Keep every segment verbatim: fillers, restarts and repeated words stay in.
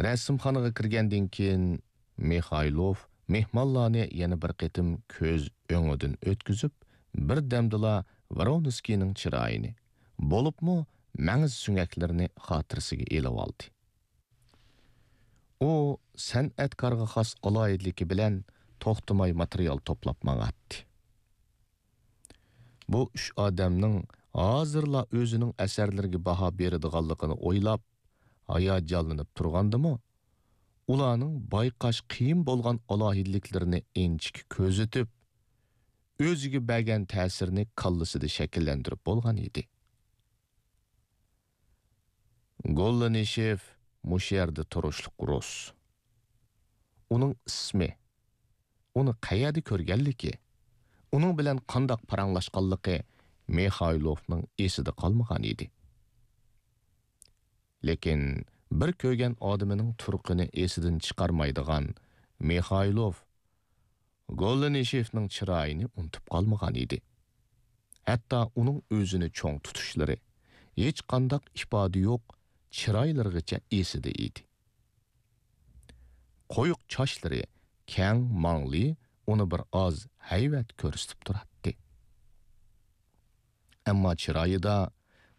رەسىمخانىغا كىرگەندىن كېيىن، مىخايلوف مېھمانلارنى يەنە بىر قېتىم كۆز ئۆڭىدىن ئۆتكۈزۈپ، بىردەمدىلا ۋرونسكىينىڭ چىرايىنى، بولۇپمۇ مەڭز سۆڭەكلىرىنى خاتىرىسىگە ئېلىۋالدى. ئۇ سەنئەتكارغا خاس ئالاھىدىلىكى بىلەن توختىماي ماتېرىيال توپلاپ ماڭاتتى. بۇ ئۈچ ئادەمنىڭ ھازىرلا ئۆزىنىڭ ئەسەرلىرىگە باھا بېرىدىغانلىقىنى ئويلاپ، ھاياجانلىنىپ تۇرغاندىمۇ، ئۇلارنىڭ بايقاش قىيىن بولغان ئالاھىدىلىكلىرىنى ئىنچىكە كۆزىتىپ، ئۆزىگە بەرگەن تەسىرىنى كاللىسىدا شەكىللەندۈرۈپ بولغان ئىدى. گوللىنىشېف مۇشۇ يەردە تۇرۇشلۇق رۇس. ئۇنىڭ ئىسمى، ئۇنى قەيەردە كۆرگەنلىكى، ئۇنىڭ بىلەن قانداق پاراڭلاشقانلىقى مىخايلوفنىڭ ئېسىدە قالمىغان ئىدى. لېكىن بىر كۆرگەن ئادىمىنىڭ تۇرقىنى ئېسىدىن چىقارمايدىغان مىخايلوف گوللىنىشېفنىڭ چىرايىنى ئۇنتۇپ قالمىغان ئىدى. ھەتتا ئۇنىڭ ئۆزىنى چوڭ تۇتۇشلىرى، ھېچقانداق ئىپادە يوق چىرايلىرىغىچە ئېسىدە ئىدى. قويۇق چاچلىرى، كەڭ ماڭلى ئۇنى بىر ئاز ھەيۋەت كۆرسىتىپ تۇراتتى. ئەمما چىرايىدا،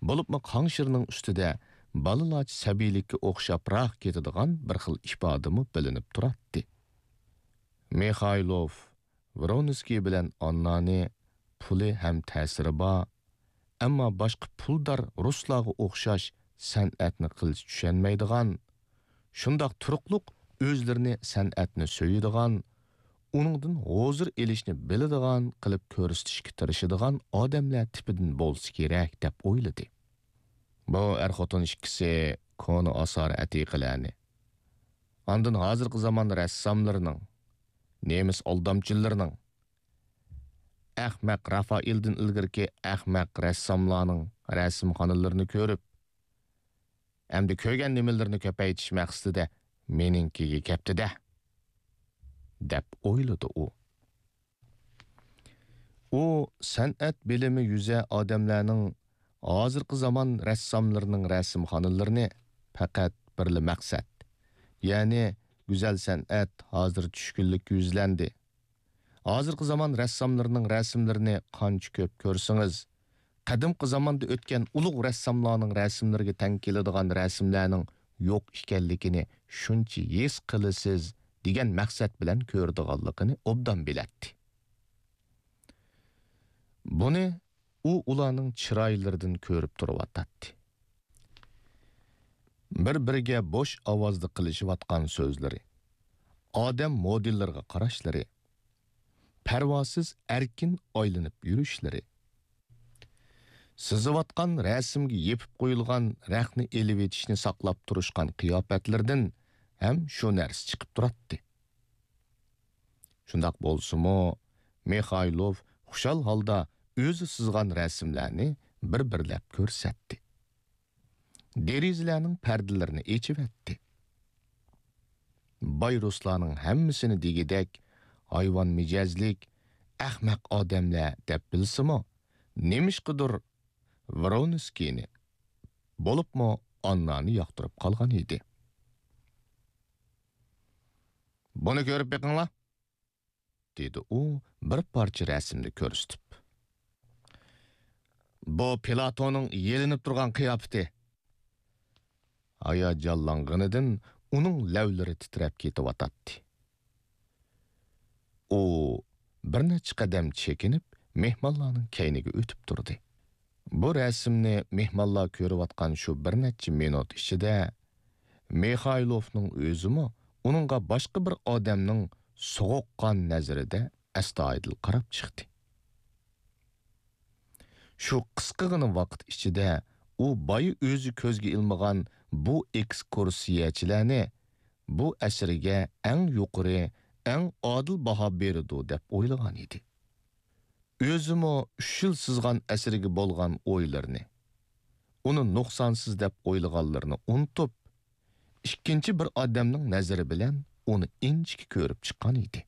بولۇپمۇ قاڭشىرىنىڭ ئۈستىدە بالىلارچە سەبىيلىككە ئوخشاپراق كېتىدىغان بىر خىل ئىپادىمۇ بىلىنىپ تۇراتتى. مىخايلوف ۋرونسكىي بىلەن ئاننانى پۇلى ھەم تەسىرى بار، ئەمما باشقا پۇلدار رۇسلارغا ئوخشاش سەنئەتنى قىلچە چۈشەنمەيدىغان، شۇنداق تۇرۇقلۇق ئۆزلىرىنى سەنئەتنى سۆيىدىغان، ئۇنىڭدىن ھۇزۇر ئېلىشنى بىلىدىغان قىلىپ كۆرسىتىشكە تىرىشىدىغان ئادەملەر تىپىدىن بولسا كېرەك، دەپ ئويلىدى. بۇ ئەر-خوتۇن ئىككىسى كونا ئاسارە-ئەتىقىلەرنى، ئاندىن ھازىرقى زامان رەسساملىرىنىڭ، نېمىس ئالدامچىلىرىنىڭ، ئەخمەق رافائېلدىن ئىلگىرىكى ئەخمەق رەسساملارنىڭ رەسىمخانىلىرىنى كۆرۈپ، ئەمدى كۆرگەن نېمىلىرىنى كۆپەيتىش مەقسىتىدە مېنىڭكىگە كەپتۇ-دە، دەپ ئويلىدى ئۇ. ئۇ سەنئەت بىلىمى يۈزە ئادەملەرنىڭ ھازىرقى زامان رەسساملىرىنىڭ رەسىمخانىلىرىنى پەقەت بىرلا مەقسەت، يەنى گۈزەل سەنئەت ھازىر چۈشكۈنلۈككە يۈزلەندى. ھازىرقى زامان رەسساملىرىنىڭ رەسىملىرىنى قانچە كۆپ كۆرسىڭىز، قەدىمكى زاماندا ئۆتكەن ئۇلۇغ رەسساملارنىڭ رەسىملىرىگە تەڭ كېلىدىغان رەسىملەرنىڭ يوق ئىكەنلىكىنى شۇنچە ھېس قىلىسىز، دېگەن مەقسەت بىلەن كۆرىدىغانلىقىنى ئوبدان بىلەتتى. بۇنى ئۇ ئۇلارنىڭ چىرايلىرىدىن كۆرۈپ تۇرۇۋاتاتتى. بىر-بىرىگە بوش ئاۋازدا قىلىشىۋاتقان سۆزلىرى، ئادەم مودېللىرىغا قاراشلىرى، پەرۋاسىز ئەركىن ئايلىنىپ يۈرۈشلىرى، سىزىۋاتقان رەسىمگە يېپىپ قويۇلغان رەختنى ئېلىۋېتىشنى ساقلاپ تۇرۇشقان قىياپەتلىرىدىن ھەم شۇ نەرسە چىقىپ تۇراتتى. شۇنداق بولسىمۇ، مىخايلوف خۇشال ھالدا ئۆزى سىزغان رەسىملەرنى بىر-بىرلەپ كۆرسەتتى. دېرىزىلەرنىڭ پەردىلىرىنى ئېچىۋەتتى. باي رۇسلارنىڭ ھەممىسىنى دېگۈدەك ھايۋان مىجەزلىك، ئەخمەق ئادەملەر دەپ بىلسىمۇ، نېمىشقىدۇر ۋرونسكىينى، بولۇپمۇ ئاننانى ياقتۇرۇپ قالغان ئىدى. «بۇنى كۆرۈپ بېقىڭلار!» دېدى ئۇ بىر پارچە رەسىمنى كۆرسىتىپ. «بۇ پلاتوننىڭ يېلىنىپ تۇرغان قىياپىتى.» ھاياجانلانغىنىدىن ئۇنىڭ لەۋلىرى تىترەپ كېتىۋاتاتتى. ئۇ بىر نەچچە قەدەم چېكىنىپ، مېھمانلارنىڭ كەينىگە ئۆتۈپ تۇردى. بۇ رەسىمنى مېھمانلار كۆرۈۋاتقان شۇ بىر نەچچە مىنۇت ئىچىدە مىخايلوفنىڭ ئۆزىمۇ ئۇنىڭغا باشقا بىر ئادەمنىڭ سوغۇققان نەزىرىدە ئەستايىدىل قاراپ چىقتى. شۇ قىسقىغىنا ۋاقىت ئىچىدە ئۇ بايا ئۆزى كۆزگە ئىلمىغان بۇ ئېكسكۇرسىيەچىلەرنى بۇ ئەسىرىگە ئەڭ يۇقىرى، ئەڭ ئادىل باھا بېرىدۇ دەپ ئويلىغان ئىدى. ئۆزىمۇ ئۈچ يىل سىزغان ئەسىرىگە بولغان ئويلىرىنى، ئۇنى نۇقسانسىز دەپ ئويلىغانلىرىنى ئۇنتۇپ، ئىككىنچى بىر ئادەمنىڭ نەزىرى بىلەن ئۇنى ئىنچىكە كۆرۈپ چىققان ئىدى.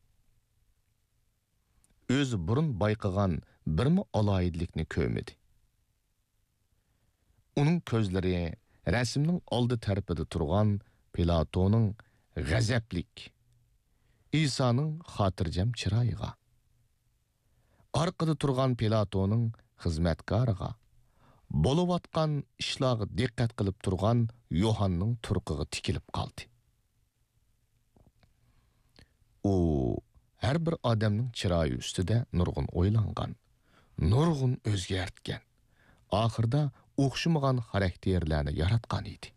ئۆزى بۇرۇن بايقىغان بىرمۇ ئالاھىدىلىكنى كۆرمىدى. ئۇنىڭ كۆزلىرى رەسىمنىڭ ئالدى تەرىپىدە تۇرغان پىلاتونىڭ غەزەپلىك، ئىسانىڭ خاتىرجەم چىرايىغا، ئارقىدا تۇرغان پىلاتونىڭ خىزمەتكارىغا، بولۇۋاتقان ئىشلارغا دىققەت قىلىپ تۇرغان يوھاننىڭ تۇرقىغا تىكىلىپ قالدى. ئۇ ھەر بىر ئادەمنىڭ چىرايى ئۈستىدە نۇرغۇن ئويلانغان، نۇرغۇن ئۆزگەرتكەن، ئاخىرىدا ئوخشىمىغان خاراكتېرلەرنى ياراتقان ئىدى.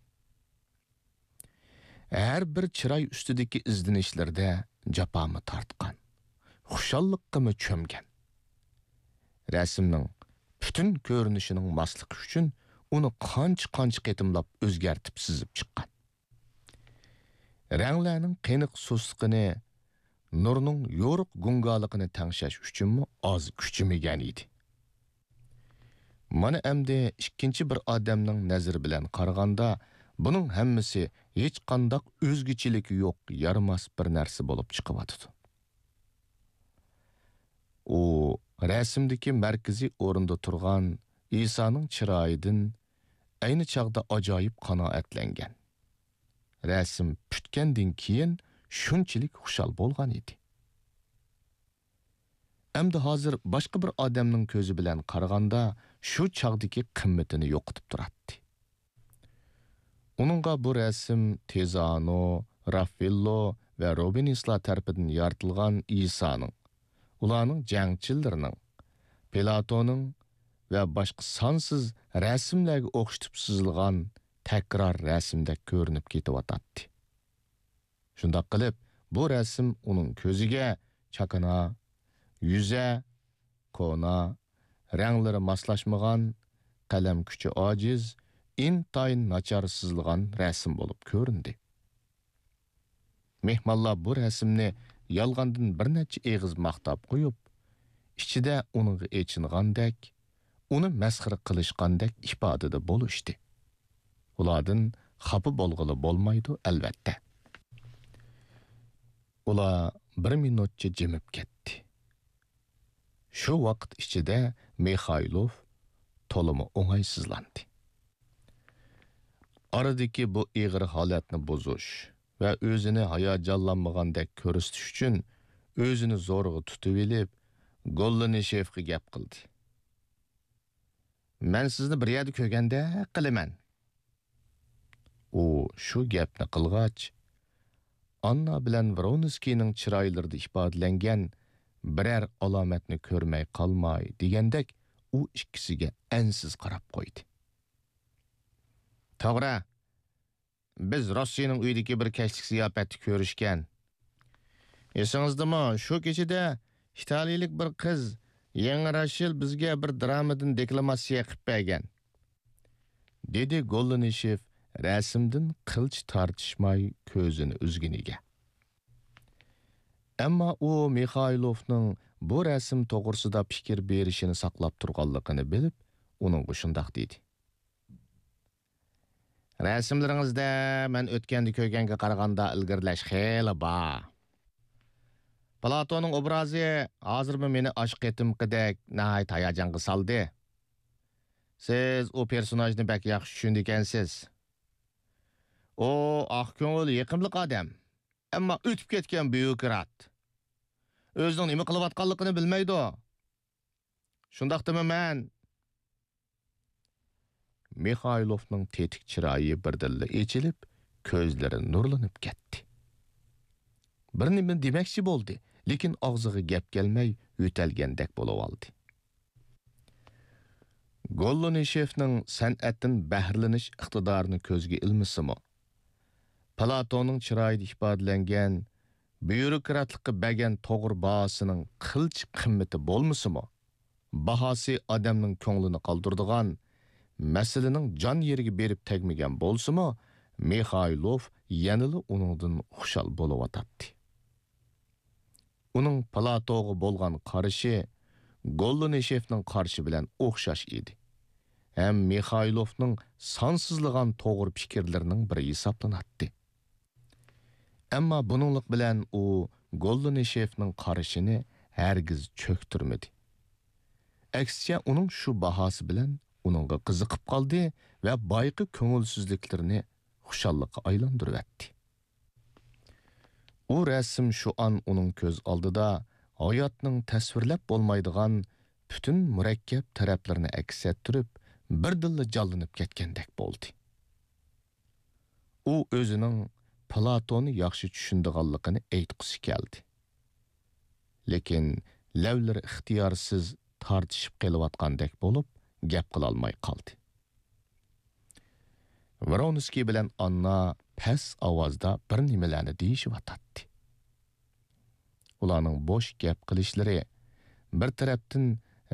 ھەر بىر چىراي ئۈستىدىكى ئىزدىنىشلىرىدە جاپامۇ تارتقان، خۇشاللىققىمۇ چۆمگەن. رەسىمنىڭ پۈتۈن كۆرۈنۈشىنىڭ ماسلىقى ئۈچۈن ئۇنى قانچە-قانچە قېتىملاپ ئۆزگەرتىپ سىزىپ چىققان. رەڭلەرنىڭ قېنىق سۇسلۇقىنى، نۇرنىڭ يورۇق گۇڭگالىقىنى تەڭشەش ئۈچۈنمۇ ئاز كۈچىمىگەن ئىدى. مانا ئەمدى ئىككىنچى بىر ئادەمنىڭ نەزىرى بىلەن قارىغاندا، بۇنىڭ ھەممىسى ھېچقانداق ئۆزگىچىلىكى يوق، يارىماس بىر نەرسە بولۇپ چىقىۋاتىدۇ. ئۇ رەسىمدىكى مەركىزىي ئورۇندا تۇرغان ئىسانىڭ چىرايىدىن ئەينى چاغدا ئاجايىپ قانائەتلەنگەن. رەسىم پۈتكەندىن كېيىن شۇنچىلىك خۇشال بولغان ئىدى. ئەمدى ھازىر باشقا بىر ئادەمنىڭ كۆزى بىلەن قارىغاندا، شۇ چاغدىكى قىممىتىنى يوقىتىپ تۇراتتى. ئۇنىڭغا بۇ رەسىم تىزانو، راففېللو ۋە روبېنسلار تەرىپىدىن يارىتىلغان ئىسانىڭ، ئۇلارنىڭ جەڭچىلىرىنىڭ، پىلاتوننىڭ ۋە باشقا سانسىز رەسىملەرگە ئوخشىتىپ سىزىلغان تەكرار رەسىمدەك كۆرۈنۈپ كېتىۋاتاتتى. شۇنداق قىلىپ، بۇ رەسىم ئۇنىڭ كۆزىگە چاكىنا، يۈزە، كونا، رەڭلىرى ماسلاشمىغان، قەلەم كۈچى ئاجىز، ئىنتايىن ناچار سىزىلغان رەسىم بولۇپ كۆرۈندى. مېھمانلار بۇ رەسىمنى يالغاندىن بىر نەچچە ئېغىز ماختاپ قويۇپ، ئىچىدە ئۇنىڭغا ئېچىنغاندەك، ئۇنى مەسخىرە قىلىشقاندەك ئىپادىدە بولۇشتى. ئۇلاردىن خاپا بولغىلى بولمايدۇ، ئەلۋەتتە. ئۇلار بىر مىنۇتچە جىمىپ كەتتى. شۇ ۋاقىت ئىچىدە مىخايلوف تولىمۇ ئوڭايسىزلاندى. ئارىدىكى بۇ ئېغىر ھالەتنى بۇزۇش ۋە ئۆزىنى ھاياجانلانمىغاندەك كۆرسىتىش ئۈچۈن ئۆزىنى زورىغا تۇتۇۋېلىپ، گوللىنىشېفقا گەپ قىلدى. مەن سىزنى بىر يەردە كۆرگەندەك قىلىمەن. ئۇ شۇ گەپنى قىلغاچ، ئاننا بىلەن ۋرونسكىينىڭ چىرايلىرىدا ئىپادىلەنگەن بىرەر ئالامەتنى كۆرمەي قالماي دېگەندەك ئۇ ئىككىسىگە ئەنسىز قاراپ قويدى. توغرا، بىز روسسىنىڭ ئۆيىدىكى بىر كەچلىك زىياپەتتە كۆرۈشكەن. ئېسىڭىزدىمۇ، شۇ كېچىدە ئىتالىيىلىك بىر قىز يېڭى راشېل بىزگە بىر درامىدىن دېكلاماتسىيە قىلىپ بەرگەن. دېدى گوللىنىشېف رەسىمدىن قىلچە تارتىشماي كۆزىنى ئۈزگىنىگە. ئەمما ئۇ مىخايلوفنىڭ بۇ رەسىم توغرىسىدا پىكىر بېرىشىنى ساقلاپ تۇرغانلىقىنى بىلىپ، ئۇنىڭغا شۇنداق دېدى. رەسىملىرىڭىزدە مەن ئۆتكەندە كۆرگەنگە قارىغاندا ئىلگىرىلەش خېلى بار. پلاتوننىڭ ئوبرازى ھازىرمۇ مېنى ئاشۇ قېتىمقىدەك ناھايىتى ھاياجانغا سالدى. سىز ئۇ پېرسوناژنى بەك ياخشى چۈشىنىدىكەنسىز. ئۇ ئاق كۆڭۈل، يېقىملىق ئادەم. ئەمما ئۆتۈپ كەتكەن بيۇروكرات. ئۆزىنىڭ نېمە قىلىۋاتقانلىقىنى بىلمەيدۇ. شۇنداقتىمۇ مەن؟ مىخايلوفنىڭ تېتىك چىرايى بىردىنلا ئېچىلىپ، كۆزلىرى نۇرلىنىپ كەتتى. بىر نېمە دېمەكچى بولدى، لېكىن ئاغزىغا گەپ كەلمەي يۆتەلگەندەك بولۇۋالدى. گوللىنىشېفنىڭ سەنئەتتىن بەھرىلىنىش ئىقتىدارىنى كۆزگە ئىلمىسىمۇ، پلاتوننىڭ چىرايىدا ئىپادىلەنگەن بيۇروكراتلىققا بەرگەن توغرا باھاسىنىڭ قىلچە قىممىتى بولمىسىمۇ، باھاسى ئادەمنىڭ كۆڭلىنى قالدۇرىدىغان، مەسىلىنىڭ جان يېرىگە بېرىپ تەگمىگەن بولسىمۇ، مىخايلوف يەنىلا ئۇنىڭدىن خۇشال بولۇۋاتاتتى. ئۇنىڭ پلاتوغا بولغان قارىشى گوللىنىشېفنىڭ قارىشى بىلەن ئوخشاش ئىدى. ھەم مىخايلوفنىڭ سانسىزلىغان توغرا پىكىرلىرىنىڭ بىرى ھېسابلىناتتى. ئەمما بۇنىڭلىق بىلەن ئۇ گوللىنىشېفنىڭ قارىشىنى ھەرگىز چۆكتۈرمىدى. ئەكسىچە، ئۇنىڭ شۇ باھاسى بىلەن ئۇنىڭغا قىزىقىپ قالدى ۋە بايىقى كۆڭۈلسىزلىكلىرىنى خۇشاللىققا ئايلاندۇرۇۋەتتى. ئۇ رەسىم شۇ ئان ئۇنىڭ كۆز ئالدىدا ھاياتنىڭ تەسۋىرلەپ بولمايدىغان پۈتۈن مۇرەككەپ تەرەپلىرىنى ئەكس ئەتتۈرۈپ، بىردىنلا جانلىنىپ كەتكەندەك بولدى. ئۇ ئۆزىنىڭ پلاتوننى ياخشى چۈشىنىدىغانلىقىنى ئېيتقۇسى كەلدى. لېكىن لەۋلىرى ئىختىيارسىز تارتىشىپ قېلىۋاتقاندەك بولۇپ، گەپ قىلالماي قالدى. ۋرونسكىي بىلەن ئاننا پەس ئاۋازدا بىر نېمىلەرنى دېيىشىۋاتاتتى. ئۇلارنىڭ بوش گەپ قىلىشلىرى بىر تەرەپتىن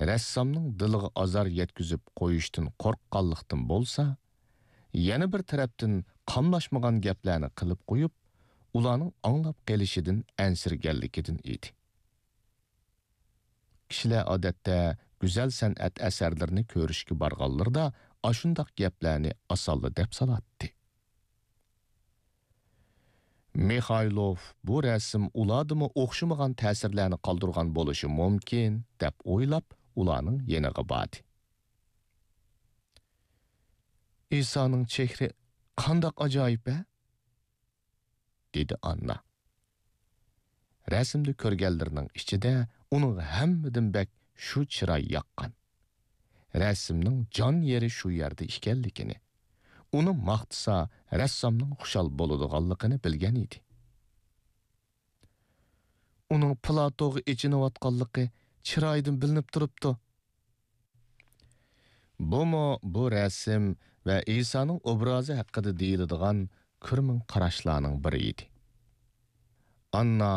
رەسسامنىڭ دىلىغا ئازار يەتكۈزۈپ قويۇشتىن قورققانلىقتىن بولسا، يەنە بىر تەرەپتىن قاملاشمىغان گەپلەرنى قىلىپ قويۇپ، ئۇلارنىڭ ئاڭلاپ قېلىشىدىن ئەنسىرىگەنلىكىدىن ئىدى. كىشىلەر ئادەتتە گۈزەل سەنئەت ئەسەرلىرىنى كۆرۈشكە بارغانلىرىدا ئاشۇنداق گەپلەرنى ئاسانلا دەپ سالاتتى. مىخايلوف بۇ رەسىم ئۇلاردىمۇ ئوخشىمىغان تەسىرلەرنى قالدۇرغان بولۇشى مۇمكىن، دەپ ئويلاپ، ئۇلارنىڭ يېنىغا باردى. ئىسانىڭ چېھرى قانداق ئاجايىپ، ھە؟ دېدى ئاننا. رەسىمدە كۆرگەنلىرىنىڭ ئىچىدە ئۇنىڭغا ھەممىدىن بەك شۇ چىراي ياققان. رەسىمنىڭ جان يېرى شۇ يەردە ئىكەنلىكىنى، ئۇنى ماختىسا، رەسسامنىڭ خۇشال بولىدىغانلىقىنى بىلگەن ئىدى. ئۇنىڭ پلاتوغا ئېچىنىۋاتقانلىقى چىرايىدىن بىلىنىپ تۇرۇپتۇ. بۇمۇ بۇ رەسىم ۋە ئىسانىڭ ئوبرازى ھەققىدە دېيىلىدىغان كۆرمىڭ قاراشلارنىڭ بىرى ئىدى. ئاننا